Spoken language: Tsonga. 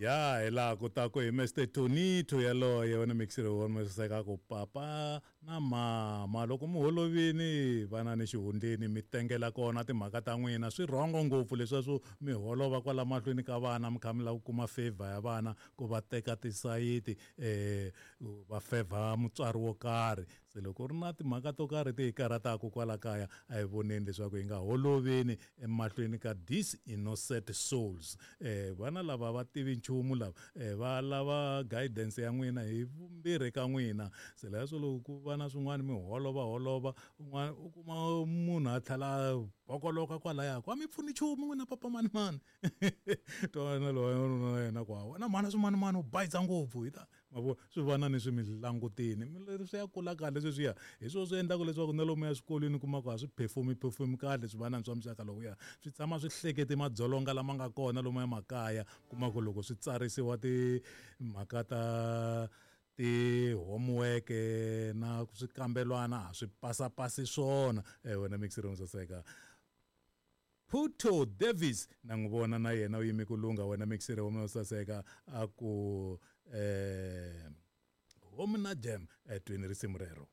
Ya hi laha ku ta ku hi Mr Tonito yaloye wena mixer wa saseka ku papa na mama loko mi holovini vana ni xihundleni mi tengela kona timhaka ta n'wina. Swi rhongo ngopfu leswiya swo mi holova kwala mahlweni ka vana mi kha mi lava ku kuma favor ya vana ku va teka tisayiti va fevha mutswari wo karhi. Se loko ku ri na timhaka to karhi ti hi karhataka kwala kaya a hi voneni leswaku hi nga holoveni emahlweni ka these innocent souls. Vana lava va tivi nchumu lava va lava guidance ya n'wina hi vumbirhi ka n'wina. Se leswo loko ku va na swin'wana mi holova holova un'wana u kuma munhu a tlhela a bokoloka kwalaya ku a mi pfuni nchumu n'wina papa manimani. Twana loyi na yena ku wena mhana swimanimani u bayisa ngopfu hi ta ma vo swi vana ni swi mi langutini swi ya kula kahle sweswiya. Hi swona swi endlaka leswaku na lomuya swikolweni u kuma ku a swi perform perform kahle swivanani swa muxaka lowuya. Swi tshama swi hlekete madzolonga lama nga kona lomuya makaya. Kuma ku loko swi tsarisiwa timhaka ta ti-homework na swikambelwana a swi pasapasi swona. Wena mixer wo saseka. Puto Davis na n'wi vona na yena u yime ku lungha wena mixer wa mina wo saseka a ku home na jam twini risimu rero.